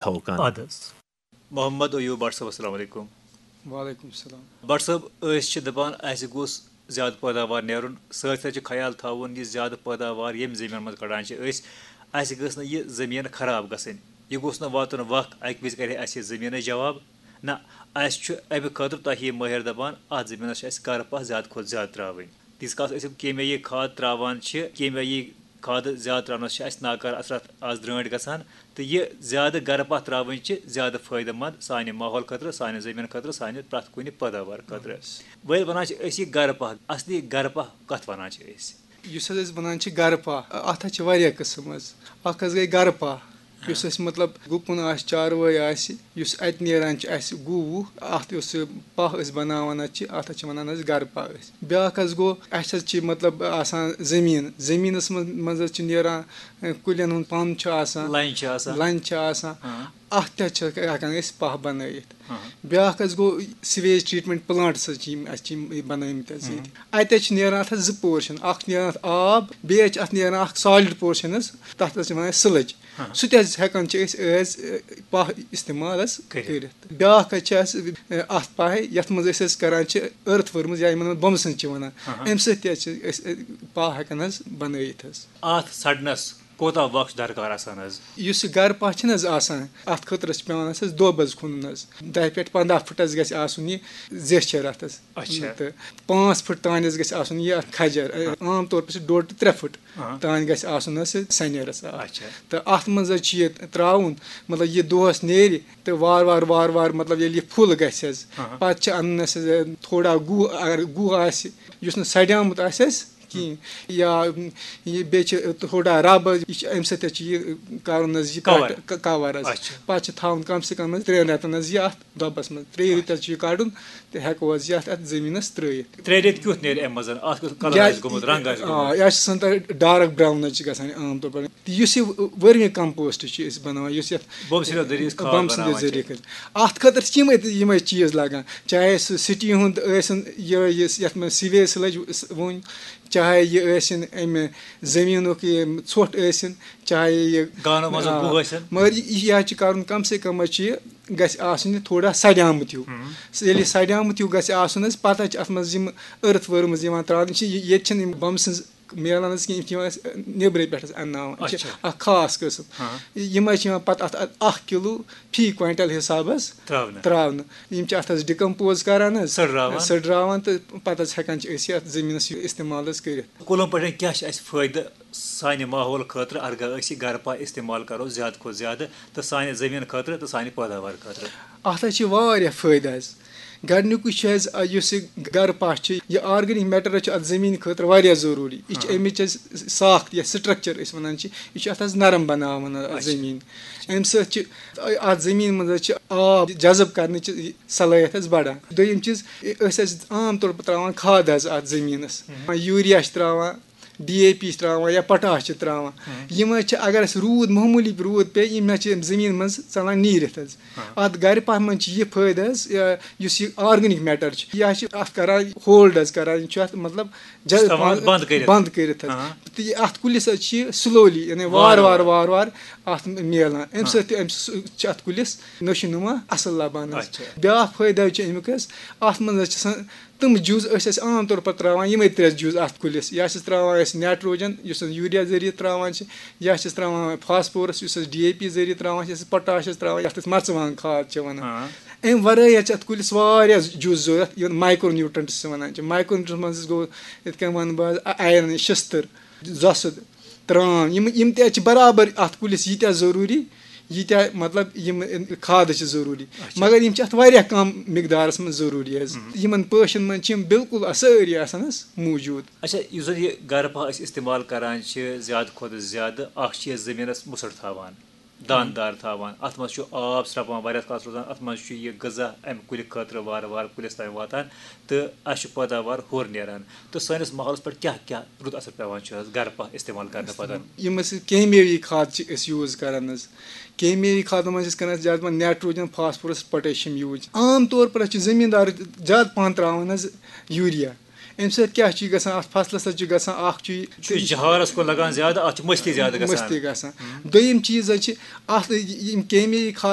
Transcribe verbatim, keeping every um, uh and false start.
تھاوو کانٛہہ۔ اَدٕ حظ۔ محمد ایوب بٹ صٲب، السلام علیکم۔ وعلیکم السلام۔ بٹ صٲب، أسۍ چھِ دَپان اَسہِ گوٚژھ زیادٕ پٲداوار نیرُن، سۭتۍ سۭتۍ چھِ خیال تھاوُن یہِ زیادٕ پٲداوار ییٚمہِ زٔمیٖنَس منٛز کَڑان چھِ أسۍ، اَسہِ گٔژھ نہٕ یہِ زٔمیٖن خراب گژھٕنۍ۔ یہِ گوٚژھ نہٕ واتُن وق اَکہِ وِزِ کَرِ اَسہِ یہِ زٔمیٖنَس جواب۔ نہ، اَسہِ چھُ اَمہِ خٲطرٕ تۄہہِ یہِ مٲہِر دَپان، اَتھ زٔمیٖنَس چھِ اَسہِ گرٕ پَہہ زیادٕ کھۄتہٕ زیادٕ ترٛاوٕنۍ۔ تیٖتِس کالَس أسۍ یِم کیمیٲیی کھاد ترٛاوان چھِ، کیمیٲیی کھادٕ زیادٕ ترٛاونَس چھِ اَسہِ ناکار اثرات آز درٛٲنٛٹھۍ گژھان، تہٕ یہِ زیادٕ گرٕ پَہہ ترٛاوٕنۍ چھِ زیادٕ فٲیدٕ مند سانہِ ماحول خٲطرٕ، سانہِ زٔمیٖن خٲطرٕ، سانہِ پرٛٮ۪تھ کُنہِ پٲداوار خٲطرٕ۔ وۄنۍ ییٚلہِ وَنان چھِ أسۍ یہِ گرٕ پَہہ، اصلی گرٕ پَہہ کَتھ وَنان چھِ أسۍ؟ یُس حظ أسۍ وَنان چھِ گرٕ پَہہ، اَتھ حظ چھِ واریاہ قٕسٕم حظ۔ اَکھ حظ گٔے گرٕ پَہہ، یُس اَسہِ مطلب گُپُن آسہِ، چاروٲے آسہِ، یُس اَتہِ نیران چھِ اَسہِ گُہہ وُہ، اَتھ یُس سُہ پَہہ أسۍ بَناوان حظ چھِ، اَتھ حظ چھِ وَنان حظ گرٕ پَہہ أسۍ۔ بیٛاکھ حظ گوٚو، اَسہِ حظ چھِ مطلب آسان زٔمیٖن، زٔمیٖنَس منٛز منٛز حظ چھِ نیران، اَ، کُلٮ۪ن ہُنٛد پَن چھُ آسان، لَنہِ چھِ آسان۔ لَنہِ چھِ آسان۔ ہاں۔ اَتھ تہِ حظ چھِ ہٮ۪کان أسۍ پَہہ بَنٲیِتھ۔ ہاں۔ بیٛاکھ حظ گوٚو سِویج ٹرٛیٖٹمٮ۪نٛٹ پٕلانٛٹٕس حظ چھِ یِم اَسہِ چھِ یِم بَنٲومٕتۍ حظ ییٚتہِ۔ اَتہِ حظ چھِ نیران اَتھ حظ زٕ پورشَن، اَکھ چھِ نیران اَتھ آب، بیٚیہِ حظ چھِ اَتھ نیران اَکھ سالِڈ پورشَن حظ، تَتھ حظ چھِ وَنان أسۍ سِلٕج۔ ہاں۔ سُہ تہِ حظ ہٮ۪کان چھِ أسۍ ایز پَہہ استعمال حظ کٔرِتھ۔ کٔرِتھ۔ بیٛاکھ حظ چھِ اَسہِ، اَ، اَتھ پَہہِ یَتھ منٛز أسۍ حظ کَران چھِ أرٕتھ ؤرمٕز یا یِمَن بۄمہٕ سٕنٛز چھِ وَنان، ہاں۔ اَمہِ سۭتۍ تہِ حظ چھِ أسۍ، اَ، پَہہ ہٮ۪کان حظ بَنٲیِتھ حظ۔ اَتھ سَڑنَس کوتاہ وقت چھُ درکار آسان حظ؟ یُس یہِ گرٕ پَہہ چھِنہٕ حظ آسان، اَتھ خٲطرٕ چھِ پٮ۪وان اَسہِ حظ دۄب حظ کھنُن حظ، دَہہِ پٮ۪ٹھ پنٛداہ فُٹ حظ گژھِ آسُن یہِ زیچھر اَتھ حظ۔ اچھا۔ تہٕ پانٛژھ فُٹ تانۍ حظ گژھِ آسُن یہِ اَتھ کھجر۔ عام طور پَر چھِ ڈۄڈ ٹُو ترٛےٚ فُٹ ہاں۔ تانۍ گژھِ آسُن حظ سُہ سَنیرَس اَتھ۔ اچھا۔ تہٕ اَتھ منٛز حظ چھِ یہِ ترٛاوُن، مطلب یہِ دۄہَس نیرِ تہٕ وارٕ وارٕ وارٕ وارٕ مطلب ییٚلہِ یہِ فُل گژھِ حظ، ہاں۔ پَتہٕ چھِ اَنُن اَسہِ حظ تھوڑا گُہہ، اگر گُہہ آسہِ یُس نہٕ سڑیومُت آسہِ حظ کِہیٖنۍ، یا یہِ بیٚیہِ چھِ تھوڑا رَب حظ، یہِ چھِ اَمہِ سۭتۍ حظ چھِ یہِ کَرُن حظ یہِ Cover۔ کَٹ-، ک-، کَوَر حظ۔ اچھا۔ پَتہٕ چھِ تھاوُن کَم سے کَم حظ ترٛٮ۪ن رٮ۪تَن حظ یہِ اَتھ دۄبَس منٛز، ترٛیٚیہِ رٮ۪تہِ حظ چھِ یہِ کَڑُن تہٕ ہٮ۪کو حظ یہِ اَتھ، اَتھ زٔمیٖنَس ترٛٲیِتھ۔ ترٛےٚ رٮ۪تۍ کیُتھ نیرِ اَمہِ منٛز؟ اَتھ کیُتھ کَلَر یا-، آسہِ گوٚمُت، رنٛگ آسہِ آ، گوٚمُت؟ یہِ حظ چھِ آسان تۄہہِ ڈارٕک برٛاوُن حظ چھِ گژھان عام طور پَر۔ تہٕ یُس یہِ ؤرمی کَمپوسٹ چھِ أسۍ بَناوان، یُس یَتھ بۄمہٕ سۭتۍ ذٔریعہٕ أسۍ کھاد بۄمہٕ سٕنٛدِ بَناوان چھِ۔ ذٔریعہٕ کٔرِتھ۔ اَتھ خٲطرٕ چھِ یِمَے تہِ، یِمَے چیٖز لَگان، چاہے سُہ سِٹی ہُنٛد ٲسِن، یہِ، یہِ، یَتھ منٛز سِویج سِلٕج وُنۍ، چاہے یہِ ٲسِن اَمہِ زٔمیٖنُک یہِ ژھۄٹھ ٲسِن، چاہے یہِ گانو منٛزُک آ، گُہہ ٲسِن۔ مگر یہِ، یہِ حظ چھِ کَرُن، کَم سے کَم حظ چھِ یہِ، گژھِ آسُن یہِ تھوڑا سڑیومُت ہیوٗ۔ ییٚلہِ یہِ سڑیومُت ہیوٗ گژھِ آسُن حظ، پَتہٕ حظ چھِ اَتھ منٛز یِم أرٕتھ ؤرمٕز یِوان ترٛاونہٕ، یِم چھِ یہِ، ییٚتہِ چھِنہٕ یِم بۄمہٕ سٕنٛز میلان حظ کینٛہہ، یِم چھِ یِوان اَسہِ نیٚبرٕ پٮ۪ٹھ حظ اَنناوان، یِم چھِ اچھا۔ اَکھ خاص قٕسٕم۔ ہاں۔ یِم حظ چھِ یِوان پَتہٕ اَتھ اَکھ کِلوٗ فی کویِنٹَل حِساب حظ ترٛاونہٕ۔ ترٛاونہٕ۔ یِم چھِ اَتھ حظ ڈِکَمپوز کَران حظ، سٔڑراوان۔ سٔڑراوان تہٕ پَتہٕ حظ ہٮ۪کان چھِ أسۍ یہِ اَتھ زٔمیٖنَس یہِ استعمال حظ کٔرِتھ۔ کُلَن پٮ۪ٹھ کیٛاہ چھِ اَسہِ فٲیدٕ سانہِ ماحول خٲطرٕ، اگر أسۍ یہِ گرٕ پَہہ استعمال کَرو زیادٕ کھۄتہٕ زیادٕ، تہٕ سانہِ زٔمیٖن خٲطرٕ تہٕ سانہِ پٲداوار خٲطرٕ؟ اَتھ حظ چھِ واریاہ فٲیدٕ حظ۔ گۄڈٕنیُکُے چھُ حظ، آ، یُس یہِ گرٕ پَہہ چھُ، یہِ آرگینِک میٹر حظ چھُ اَتھ زٔمیٖن خٲطرٕ واریاہ ضروٗری۔ یہِ چھِ اَمِچ حظ ساخت یا سٹرکچر أسۍ وَنان چھِ، یہِ چھُ اَتھ حظ نرم بَناوان اَتھ اچھا۔ زٔمیٖن۔ اَمہِ سۭتۍ چھِ اَتھ زٔمیٖن منٛز حظ چھِ آب جذب کرنٕچ صلٲحیت حظ بَڑان۔ دوٚیِم چیٖز، أسۍ حظ عام طور پَر ترٛاوان کھاد حظ اَتھ زٔمیٖنَس۔ یوٗریا چھِ ترٛاوان، ڈی اے پی چھِ ترٛاوان یا پوٹاش چھِ ترٛاوان۔ یِم حظ چھِ، اگر اَسہِ روٗد، معموٗلی روٗد پیٚیہِ، یِم حظ چھِ زٔمیٖن منٛز ژَلان نیٖرِتھ حظ۔ اَتھ گرِ پَہہ منٛز چھِ یہِ فٲیدٕ حظ، یا یُس یہِ آرگینِک میٹر چھُ، یہِ حظ چھِ اَتھ کران ہولڈ حظ کران، یہِ چھُ اَتھ مطلب جذب استعمال بنٛد کٔرِتھ۔ بنٛد کٔرِتھ حظ۔ ہاں۔ تہٕ یہِ اَتھ کُلِس حظ چھِ یہِ سلولی، یعنی وارٕ وارٕ وارٕ وارٕ اَتھ میلان۔ اَمہِ سۭتۍ تہِ، اَمہِ سۭتۍ چھِ اَتھ کُلِس نشو نما اَصٕل لَبان حظ۔ اچھا۔ بیٛاکھ فٲیدٕ حظ چھُ اَمیُک حظ، اَتھ منٛز حظ چھِ آسان تِم جُز، أسۍ ٲسۍ عام طور پر ترٛاوان یِمے ترٛےٚ جُز اَتھ کُلِس۔ یا چھِس ترٛاوان أسۍ نائٹروجن، یُس أسۍ یوٗریا ذٔریعہٕ ترٛاوان چھِ، یا چھِس ترٛاوان فاسفورس، یُس أسۍ ڈی اے پی ذٔریعہٕ ترٛاوان چھِ، یا چھِس پوٹاش حظ ترٛاوان، یَتھ أسۍ مرژٕوانٛگن کھاد چھِ وَنان۔ ہاں۔ اَمہِ ورٲے حظ چھِ اَتھ کُلِس واریاہ جُز ضوٚرَتھ، یِمن مایکرو نیوٗٹرنٹس چھِ وَنان چھِ۔ مایکرو نیوٗٹرنٹس منٛز حظ گوٚو، یِتھ کٔنۍ وَنہٕ بہٕ حظ، آیرن، شِستٕر، زۄسُد، ترٛام، یِم، یِم تہِ حظ چھِ برابر اَتھ کُلِس ییٖتیٛاہ ضروٗری، ییٖتیٛاہ مطلب یِم کھادٕ چھِ ضروٗری، مگر یِم چھِ اَتھ واریاہ کم مقدارس منٛز ضروٗری حظ۔ یِمن پوشن منٛز چھِ یِم بالکل سٲری آسان حظ موٗجوٗد۔ اچھا، یُس زَن یہِ گرٕ پَہہ أسۍ استعمال کران چھِ، زیادٕ کھۄتہٕ زیادٕ اکھ چھِ یہِ زٔمیٖنَس مُسٕر تھاوان، دانہٕ دار تھاوان، اَتھ منٛز چھُ آب سرٛپان، واریاہَس کالَس روزان، اَتھ منٛز چھُ یہِ غذا اَمہِ کُلہِ خٲطرٕ وارٕ وارٕ کُلِس تام واتان تہٕ اَسہِ چھُ پٲداوار ہیوٚر نیران۔ تہٕ سٲنِس ماحولَس پٮ۪ٹھ کیٛاہ کیٛاہ رُت اثر پٮ۪وان چھُ حظ گرٕ پَہہ استعمال کرنہٕ پَتہٕ؟ یِم أسۍ کیمیٲیی کھاد چھِ أسۍ یوٗز کران حظ، کیمیٲیی کھادَن منٛز چھِ أسۍ کران زیادٕ پَہَن نائٹروجن، فاسفورس، پوٹیشیم یوٗز۔ عام طور پر حظ چھِ زٔمیٖندار زیادٕ پَہَن ترٛاوان حظ یوٗریا۔ اَمہِ سۭتۍ کیٛاہ چھُ گژھان؟ اَتھ فصلَس حظ چھُ گژھان اَکھ چھُ یہِ چھُ جہارَس کُن لگان زیادٕ، اَتھ چھُ مٔستی زیادٕ گژھان۔ مٔستی گژھان۔ دوٚیِم چیٖز حظ چھِ اَتھ، یِم کیمیٲیی کھاد